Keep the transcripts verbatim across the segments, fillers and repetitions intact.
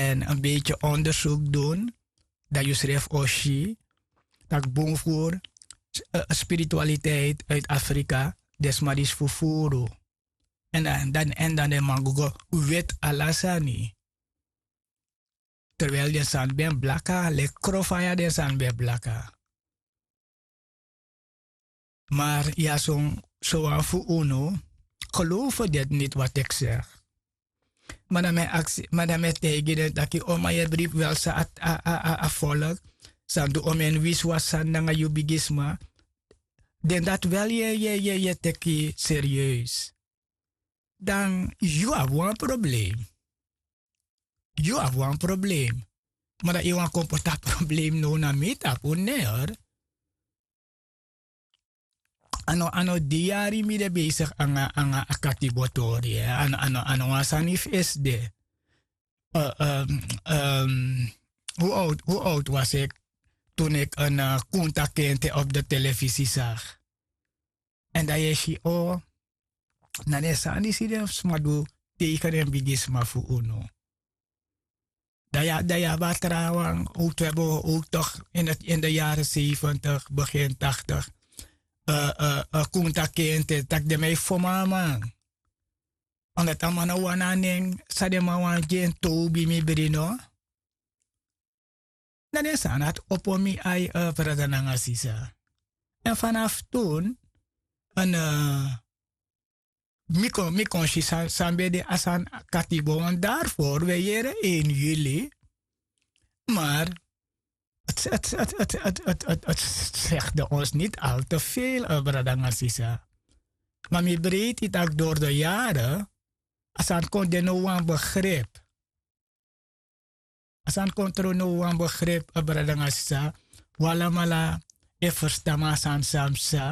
en en beitye ondersuk dun, dan yu srefi o si tak' bun furu spiritualiteit uiti afrika, den sma disi fufuru. Èn dan den man go go weti ala sani, terwel den sani ben blaka leki krofaya den sani ben blaka. Mar ya son sowan fu unu, gelowfu deti niti wati eki segi. Ma dan mi e aksi ma dan mi e taigi den taki o man yu e bribi welsa a a a a folk, san du omen wisiwasi sani nanga yu bigisma. Den dati wel yu e yu e yu e teki serieus. Dan yu abi wan problem. Yu abi wan problem. Ma dan yu wani kon poti a problem now na mi tapu ner. A no a no di yari mi de besigi nanga nanga a katibo tori. A no a no a no wan sani fu esi de. Hu owtu hu owtu wasi eki, tun eki en kunta kente opu de telefisi sagi. Èn dan yu e si o na den sani disi den sma du teige den bigisma fu unu. Dan yu abi a trawan owtu wi abi owtu toki, ini de yari sefentigi begin taktigi. Kunta kente tak' den man e fomo a man. Ondati a man no wani a nen san den man wani gi en tobi mi bri no. Na den sani dati opo mi ai brada nanga sisa. Èn fanafu tun, mi kon mi kon si san ben de a sani katibo wan dari fori wi e yere en yuli. Mar segi de ons niti al te vel brada nanga sisa. Ma mi breiti tak' dori de yare a sani kon de no wan begrip. A sani kon tron no wan begrip a brada nanga sisa. Wi alamala e ferstan mi a sani san mi sa.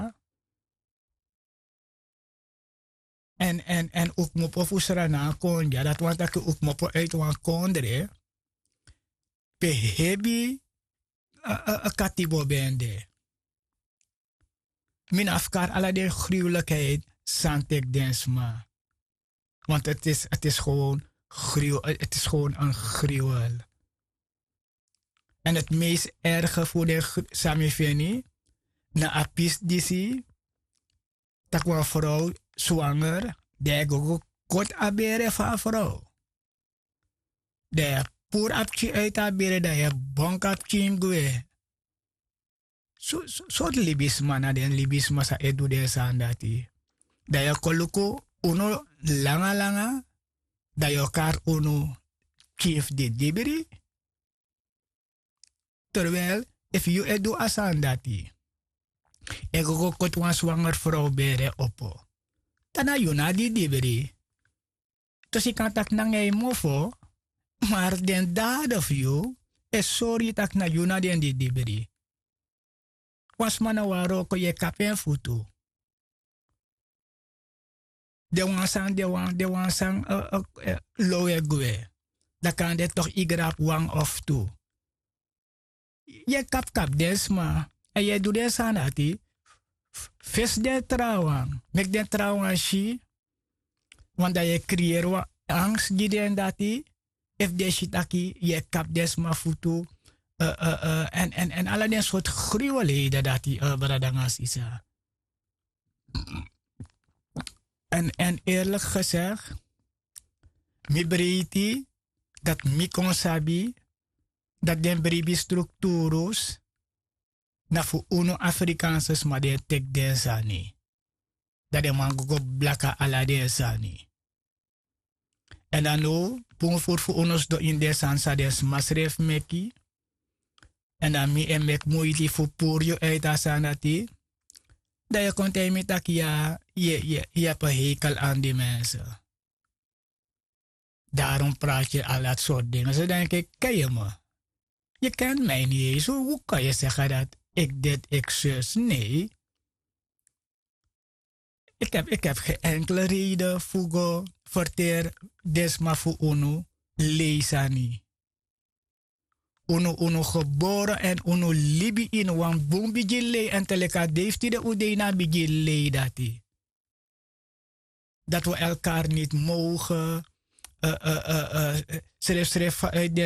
Èn èn èn un kmopo fu sra na a kondre a dati wani tak' un kmopo uiti wan kondre pe hebi a katibo ben de. Mi no abi fu kari ala den gruwelikheid san teki den sma. Want ti is ti is gewoon gruwel ti is gewoon en gruwel. Èn ti meest erge fu den san mi feni na a pisi disi, tak' wan frow swanger, dan yu e go go koti a bere fu a frow. Dan yu e puru a pikin uiti a bere dan yu e bonku a pikin gwe. Sortu libisma na den libisma san e du den sani dati. Dan yu o kon luku unu langa langa, dan yu o kari unu pikin fu didibri. Terwel efu yu e du a sani dati, e go go koti wan swanger frow bere opo, dan na yu na didibri. Dus yu kan taki nanga yu mofo, mar den dade fu yu e sori yu tak' na yu na den didibri. Wan sma na wan wroko yu e kapu en futu. Den wan sani den wan den wan sani low e gwe. Dan kande toki yu grapu wan of tu. Yu e kapu kapu den sma èn yu e du den sani dati. Fesi den trawan meki den trawan si. Wan dan yu e kriyeri wan angst gi den dati. Efu den si taki yu e kapu den sma futu èn ala den sortu gruwelheden dati brada nanga sisa. Èn èn eerlik gesegi, mi breiti dati mi kon sabi dati den bribi strukturus na fu unu afrikaanse sma di e teki den sani. Dan den man go go blaka ala den sani. Èn dan now bun furu fu unu sidon ini den sani san den sma srefi meki. Èn dan mi e meki muiti fu puru yu uiti a sani dati. Dan yu e kon taigi mi tak' yu abi en heikel an di mense. Daron prati yu ala dati sortu den so dan yu keki kei yu mi. Yu kenti mi a ini yu yu so hu kon yu segi a dati? Eki deti eki sus nei. Eki abi eki abi gen enkele reide fu go ferteri den sma fu unu. Lei sani. Unu unu gebore èn unu libi ini wan bun bigin lei èn te leki a dei fu tide un dei na a bigin lei dati. Dati wi elkari niti moge srefsrefi fu